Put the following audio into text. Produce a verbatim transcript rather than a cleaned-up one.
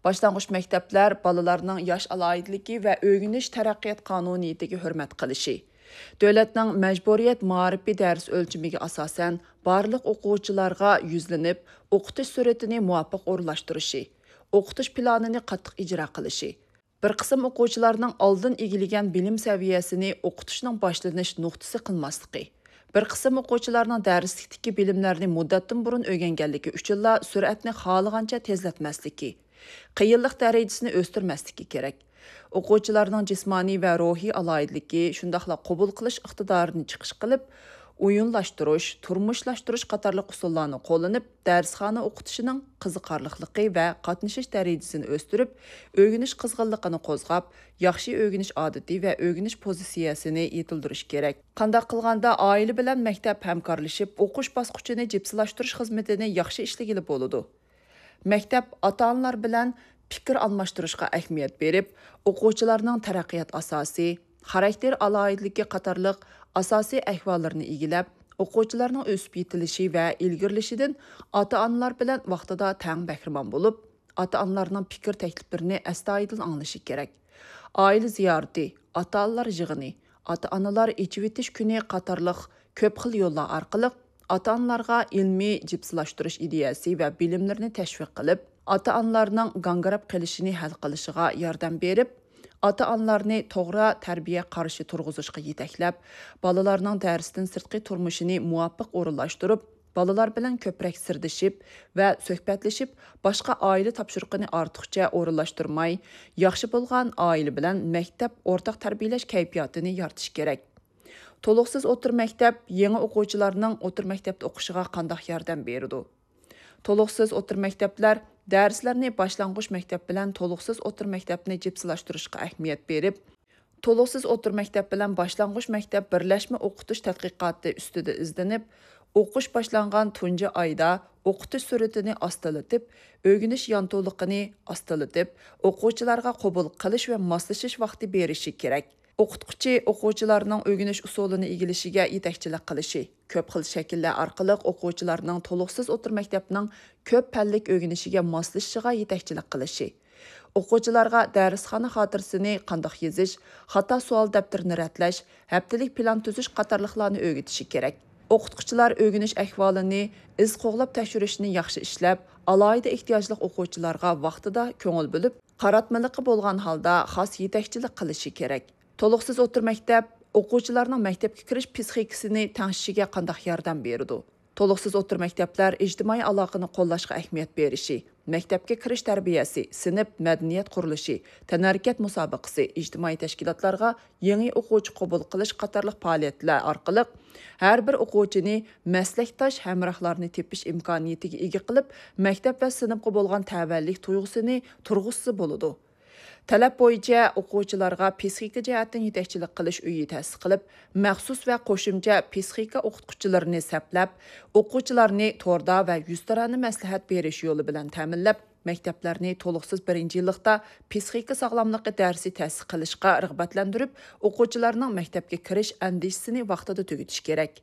باشلانغۇچ مەكتەپلەر بالىلارنىڭ ياش ئالاھىدىلىكى ۋە ئۆگىنىش تەرەققىيات قانۇنىيىتىگە ھۆرمەت قىلىشى، دۆلەتنىڭ مەجبۇرىيەت مائارىپى دەرس ئۆلچىمىگە ئاساسەن، بارلىق ئوقۇغۇچىلارغا يۈزلىنىپ، ئوقۇتۇش سۈرئىتىنى مۇۋاپىق ئورۇنلاشتۇرۇشى، ئوقۇتۇش پىلانىنى قاتتىق ئىجرا قىلىشى، بىر قىسىم ئوقۇغۇچىلارنىڭ ئالدىن ئىگىلىگەن بىلىم سەۋىيەسىنى ئوقۇتۇشنىڭ باشلىنىش نۇقتىسى قىلماسلىقى، بىر قىسىم ئوقۇغۇچىلارنىڭ دەرسلىكتىكى بىلىملەرنى مۇددەتتىن بۇرۇن ئۆگەنگەنلىكى ئۈچۈنلا سۈرئەتنى خالىغانچە تېزلەتمەسلىكى، قىيىنلىق دەرىجىسىنى ئۆستۈرمەسلىكى كېرەك. ئوقۇغۇچىلارنىڭ جىسمانىي ۋە روھىي ئالاھىدىلىكى، شۇنداقلا قوبۇل قىلىش ئىقتىدارىنى چىقىش قىلىپ، ئويۇنلاشتۇرۇش، تۇرمۇشلاشتۇرۇش قاتارلىق ئۇسۇللارنى قوللىنىپ، دەرسخانا ئوقۇتۇشىنىڭ قىزىقارلىقلىقى ۋە قاتنىشىش دەرىجىسىنى ئۆستۈرۈپ، ئۆگىنىش قىزغىنلىقىنى قوزغاپ، ياخشى ئۆگىنىش ئادىتى ۋە ئۆگىنىش پوزىتسىيەسىنى يېتىلدۈرۈش كېرەك. قانداق قىلغاندا ئائىلە بىلەن مەكتەپ ھەمكارلىشىپ، ئوقۇش باسقۇچىنى جىپسىلاشتۇرۇش خىزمىتىنى ياخشى ئىشلىگىلى بولىدۇ؟ مەكتەپ ئاتا-ئانىلار بىلەن پىكىر ئالماشتۇرۇشقا ئەھمىيەت بېرىپ، ئوقۇغۇچىلارنىڭ تەرەققىيات ئاساسى، خاراكتېر ئالاھىدىلىكى قاتارلىق ئاساسىي ئەھۋاللىرىنى ئىگىلەپ، ئوقۇغۇچىلارنىڭ ئۆسۈپ يېتىلىشى ۋە ئىلگىرىلىشىدىن ئاتا-ئانىلار بىلەن ۋاقتىدا تەڭ بەھرىمەن بولۇپ، ئاتا-ئانىلارنىڭ پىكىر تەكلىپلىرىنى ئەستايىدىل ئاڭلىشى كېرەك. ئائىلە زىيارىتى، ئاتا-ئانىلار يىغىنى، ئاتا-ئانىلار ئېچىۋېتىش كۈنى قاتارلىق كۆپ خىل يوللار ئارقىلىق ئاتا-ئانىلارغا ئىلمىي جىپسىلاشتۇرۇش ئىدىيەسى ۋە بىلىملىرىنى تەشۋىق قىلىپ، ئاتا-ئانىلارنىڭ گاڭگىراپ قېلىشىنى ھەل قىلىشىغا ياردەم بېرىپ، ئاتا-ئانىلارنى توغرا تەربىيە قارىشى تۇرغۇزۇشقا يېتەكلەپ، بالىلارنىڭ دەرستىن سىرتقى تۇرمۇشىنى مۇۋاپىق ئورۇنلاشتۇرۇپ، بالىلار بىلەن كۆپرەك سىردىشىپ ۋە سۆھبەتلىشىپ، باشقا ئائىلە تاپشۇرۇقىنى ئارتۇقچە ئورۇنلاشتۇرماي، ياخشى بولغان ئائىلە بىلەن مەكتەپ ئورتاق تەربىيەلەش كەيپىياتىنى يارىتىش كېرەك. تولۇقسىز ئوتتۇرا مەكتەپ يېڭى ئوقۇغۇچىلارنىڭ ئوتتۇرا مەكتەپتە ئوقۇشىغا قانداق ياردەم بېرىدۇ؟ تولۇقسىز ئوتتۇرا مەكتەپلەر دەرسلەرنى باشلانغۇچ مەكتەپ بىلەن تولۇقسىز ئوتتۇرا مەكتەپنى جىپسىلاشتۇرۇشقا ئەھمىيەت بېرىپ، تولۇقسىز ئوتتۇرا مەكتەپ بىلەن باشلانغۇچ مەكتەپ بىرلەشمە ئوقۇتۇش تەتقىقاتى ئۈستىدە ئىزدىنىپ، ئوقۇش باشلانغان تۇنجى ئايدا ئوقۇتۇش سۈرئىتىنى ئاستىلىتىپ، ئۆگىنىش يانتۇلۇقىنى ئاستىلىتىپ، ئوقۇغۇچىلارغا قوبۇل قىلىش ۋە ماسلىشىش ۋاقتى بېرىشى كېرەك. ئوقۇتقۇچى ئوقۇغۇچىلارنىڭ ئۆگىنىش ئۇسۇلىنى ئىگىلىشىگە يېتەكچىلىك قىلىشى، كۆپ خىل شەكىللەر ئارقىلىق ئوقۇغۇچىلارنىڭ تولۇقسىز ئوتتۇرا مەكتەپنىڭ كۆپ پەنلىك ئۆگىنىشىگە ماسلىشىشىغا يېتەكچىلىك قىلىشى، ئوقۇغۇچىلارغا دەرسخانا خاتىرىسىنى قانداق يېزىش، خاتا سوئال دەپتىرىنى رەتلەش، ھەپتىلىك پىلان تۈزۈش قاتارلىقلارنى ئۆگىتىشى كېرەك. ئوقۇتقۇچىلار ئۆگىنىش ئەھۋالىنى ئىز قوغلاپ تەكشۈرۈشنى ياخشى ئىشلەپ، ئالاھىدە ئېھتىياجلىق ئوقۇغۇچىلارغا ۋاقتىدا كۆڭۈل بۆلۈپ، قاراتمىلىقى بولغان ھالدا خاس يېتەكچىلىك قىلىشى كېرەك. تولۇقسىز ئوتتۇرا مەكتەپ ئوقۇغۇچىلارنىڭ مەكتەپكە كىرىش پسىخىكىسىنى تەڭشىشىگە قانداق ياردەم بېرىدۇ؟ تولۇقسىز ئوتتۇرا مەكتەپلەر ئىجتىمائىي ئالاقىنى قوللاشقا ئەھمىيەت بېرىشى، مەكتەپكە كىرىش تەربىيەسى، سىنىپ مەدەنىيەت قۇرۇلۇشى، تەنھەرىكەت مۇسابىقىسى، ئىجتىمائىي تەشكىلاتلارغا يېڭى ئوقۇغۇچى قوبۇل قىلىش قاتارلىق پائالىيەتلەر ئارقىلىق ھەر بىر ئوقۇغۇچىنى مەسلەكداش ھەمراھلارنى تېپىش ئىمكانىيىتىگە ئىگە قىلىپ، مەكتەپ ۋە سىنىپقا بولغان تەۋەلىك تۇيغۇسىنى تۇرغۇزسا بولىدۇ. تەلەپ بويىچە ئوقۇغۇچىلارغا پسىخىكا جەھەتتىن يېتەكچىلىك قىلىش ئۆيى تەسىس قىلىپ، مەخسۇس ۋە قوشۇمچە پسىخىكا ئوقۇتقۇچىلىرىنى سەپلەپ، ئوقۇغۇچىلارنى توردا ۋە يۈزتۇرانە مەسلىھەت بېرىش يولى بىلەن تەمىنلەپ، مەكتەپلەرنى تولۇقسىز بىرىنچى يىللىقتا پسىخىكا ساغلاملىقى دەرسى تەسىس قىلىشقا رىغبەتلەندۈرۈپ، ئوقۇغۇچىلارنىڭ مەكتەپكە كىرىش ئەندىشىسىنى ۋاقتىدا تۈگىتىش كېرەك.